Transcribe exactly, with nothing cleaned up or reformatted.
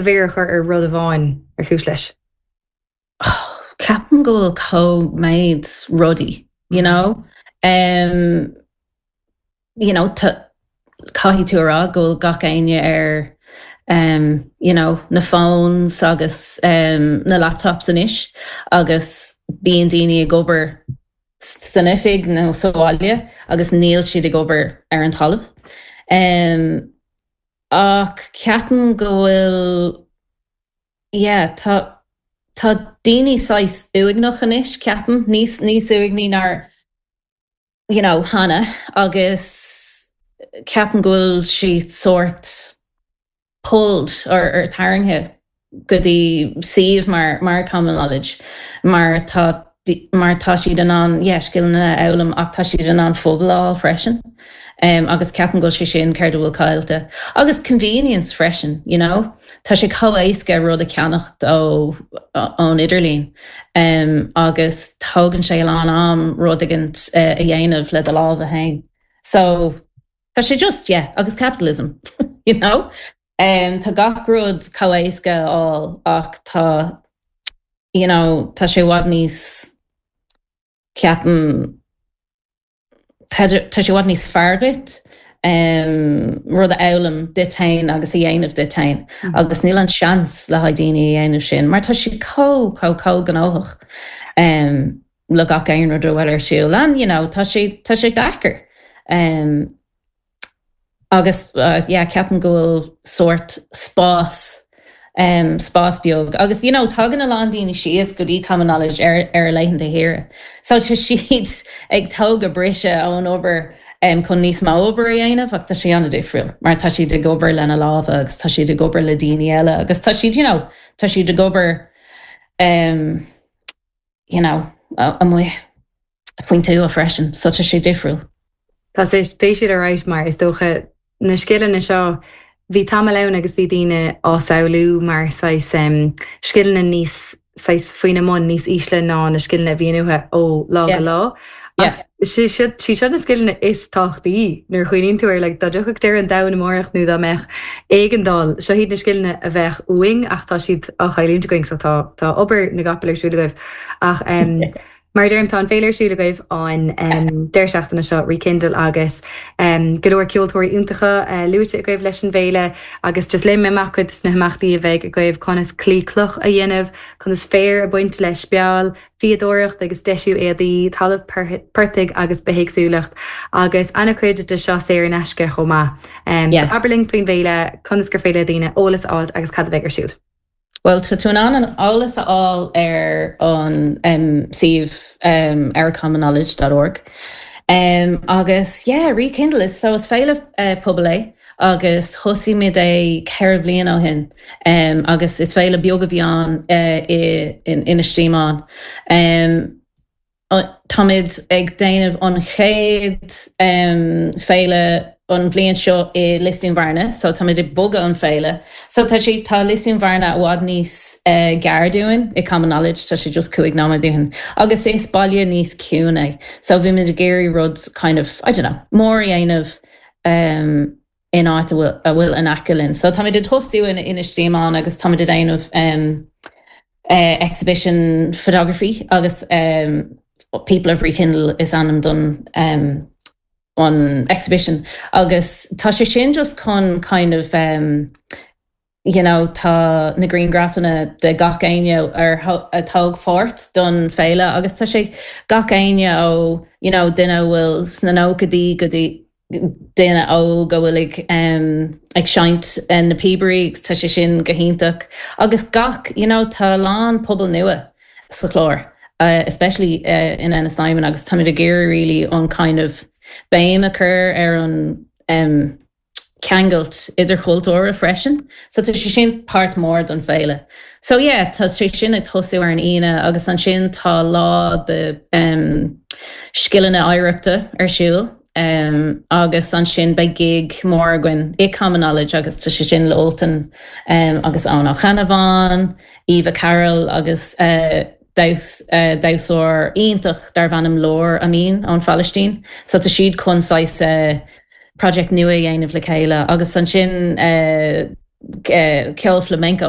mhéar a chur ar rud amháin ar chúis leis. Oh, ceapaim go bhfuil chomh méid rudaí, you know? Um, you know, caithfidh tú rá go bhfuil gach éinne ar um, you know, na phones agus um, na laptops anois agus bíonn daoine ag obair san oifig nó sa bhaile agus níl siad ag obair ar an talamh. Um, ach ceapaim go bhfuil yeah, tá tá daoine saghas uaigneach anois ceapaim níos níos uaigní ná you know, cheana agus ceapaim go bhfuil sí sort pulled or, or tarraingthe go dtí suíomh mar mar common knowledge mar tá mar tá siad in ann yeah, scileanna a fhoghlaim ach tá siad in ann foghlaim freisin. Um, agus ceapaim go bhfuil sé sin ceard a bhfuil caillte. Agus convenience freisin, you know? Tá sé chomh éasca rud a cheannacht ó ón idirlíon. Um, agus tógann sé a lán am rud éigin uh, a dhéanamh le do lámha féin. So tá sé just yeah, agus capitalism, you know? Um, tá gach rud chomh éasca á ach tá you know, tá sé i bhfad níos ceapaim tá sé i bhfad níos fearr duit um, rud a fhoghlaim duit féin agus a dhéanamh duit féin mm. agus níl an seans le haghaidh daoine a dhéanamh sin, mar tá sé chomh chomh chomh gnóthach um, le gach aon rud a bhfuil ar siúl an you know, tá sé tá sé deacair. Um, agus uh, yeah, ceapaim go bhfuil sort spás um, spás beag. Agus you know, tagann a lán daoine síos go dtí common knowledge ar ar laethanta saoire. So tá siad ag tógáil briseadh ón obair um, chun níos mó obair a dhéanamh ach tá sé an-difriúil, mar tá siad ag obair lena lámha agus tá siad ag obair le daoine eile agus tá siad you know, tá siad ag obair um, you know, amuigh faoin tuath freisin, so tá sé difriúil. Tá sé spéisiúil arís mar is dócha na scileanna seo bhí tamall ann agus bhí daoine á samhlú mar saghas um, scileanna níos saghas faoina mbun níos ísle ná na scileanna a bhíonn uathu ó lá go lá. Sí seo na scileanna is tábhachtaí nuair a chuimhníonn tú ar le dá dtiocfadh deireadh an domhain amárach nó dá mbeadh éigeandáil seo iad na scileanna a bheadh uainn ach tá siad á chailliúint againn so tá tá obair na gcapall ar siúl agaibh ach um, Mar deirim tá an féile ar siúl agaibh an um, deireadh seachtaine seo Rekindle agus um, go leor ceoltóirí iontacha uh, luaite agaibh leis an bhféile agus just léim amach cuid sna himeachtaí a bheidh agaibh conas claí cloch a dhéanamh, conas féar a bhaint le speal, fíodóireacht agus deisiú éadaí, talamh portaigh agus bithéagsúlacht agus an-chuid de seo saor in aisce chomh maith. Um, yeah. so abair linn faoin bhféile conas gur féidir le daoine eolas a fháil agus cad a bheidh ar siúl. Well tá tú in ann an eolas a fháil ar an um, suíomh um, ourcommonknowledge.org. Um, agus yeah, Rekindle is so is féile uh, pobail é agus thosaigh muid é ceithre bliana ó shin um, agus is féile beag a bhí ann uh, in Inis Díomáin. Um, Táimid ag déanamh an chéad um, féile an bhliain seo i Lios Dúin Bhearna, so táimid ag bogadh an féile. So tá sé tá Lios Dúin Bhearna i bhfad níos uh, gaire dúinn i Common Knowledge tá sé just cúig nóiméad dúinn. Agus is baile níos ciúine. So bhí muid ag iarraidh rud kind of, I don't know, mór a dhéanamh um, in áit a bhfuil in aice linn. So táimid ag tosú in Inis Díomáin agus táimid ag déanamh um, uh, exhibition photography agus um, People of Rekindle is ainm don um, an exhibition agus tá sé sin just chun kind of um, you know, tá na grianghrafanna de gach éinne ar a thóg páirt don féile agus tá sé gach éinne ó you know, duine bhfuil sna nóchaidí go dtí duine óg a bhfuil ag um, ag seinnt na píobairí tá sé sin go hiontach agus gach you know, tá lán pobal nua sa chlár. Uh, especially uh, in Ennistymon agus táimid ag iarraidh really an kind of béim a chur ar an um, ceangailt idirchultúrtha freisin. So tá sé sin páirt mór don féile. So yeah, tá sé sin ag tosú ar an Aoine agus ansin tá lá de um, scileanna oidhreachta ar siúl. Um, agus ansin beidh gig mór againn i Common Knowledge agus tá sé sin le Ultan um, agus Eoin Ó Ceannabháin, Eva Carroll agus uh, damhsóir iontach darb ainm Lór Amin ón Phalaistín. So tá siad chun saghas uh, project nua a dhéanamh le chéile agus ansin uh, uh, ceol flamenco